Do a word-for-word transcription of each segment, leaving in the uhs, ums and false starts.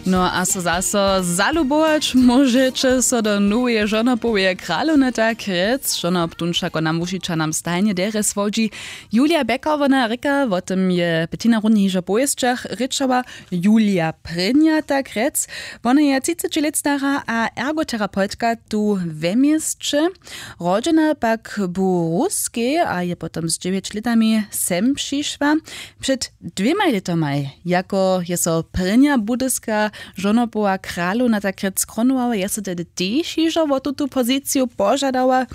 No a so zaso zalubować móžeće so do noweje žonopoweje kralowny, tak rjec žonop tón wšako nam wušića nam stajnje derje słodźi. Julia Becker, wona rěka, wo tym je petina runje hižo w powěsćach rěčała, Julia Prěnja, tak rjec. Wona je třiceći lět stara a ergoterapeutka tu we měsće. Rodźena pak bu ruskej a je potom z dźewjeć lětami sem přišła. Před dwěmaj lětomaj, jako je so prěnja budyska žonopowa kralowna tak rjec skronowała, je so tehdy tež hižo wo tutu poziciju požadała.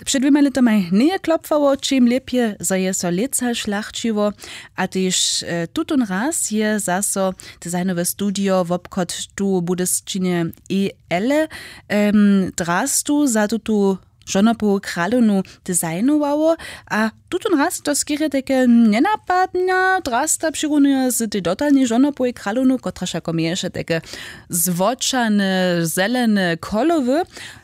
Před dwěmaj lětomaj njeje klopłało, čim lěpje, zo je so lětsa šlachćiło. A tež tutón raz je zaso designowe studio wobchod tu w budyšćinje i ele drastu za tutu žonopowu kralownu designowało. A tutón raz to skerje tajke njenapadnja drasta přirunuje z tej dotalnej žonopowej kralownu, kotraž jako měješe tajke złočane zelene kolowy.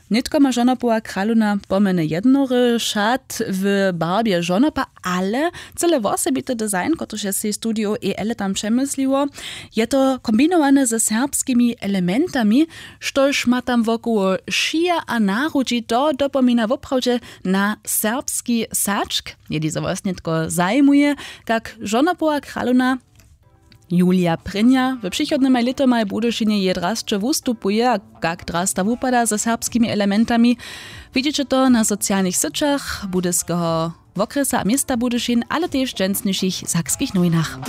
Nětko ma žonopowa kralowna pomjeny jednory šat w barbje žonopa, ale cyle wosebity design, kotryž je sej studio ele tam přemysliło, je to kombinowane ze serbskimi elementami, štož ma tam wokoło šija a narudźi, to dopomina woprawdźe na serbski sačk. Jeli zo wosnjetko zajimuje, kak žonopowa kralowna Julia Prěnja w přichodnymaj lětomaj w Budyšinje je drasće wustupuje a kak drasta wupada ze serbskimi elementami, widźeće to na socialnych syćach budyskeho wokrjesa a města Budyšin, ale tež w dźensnišich sakskich nowinach.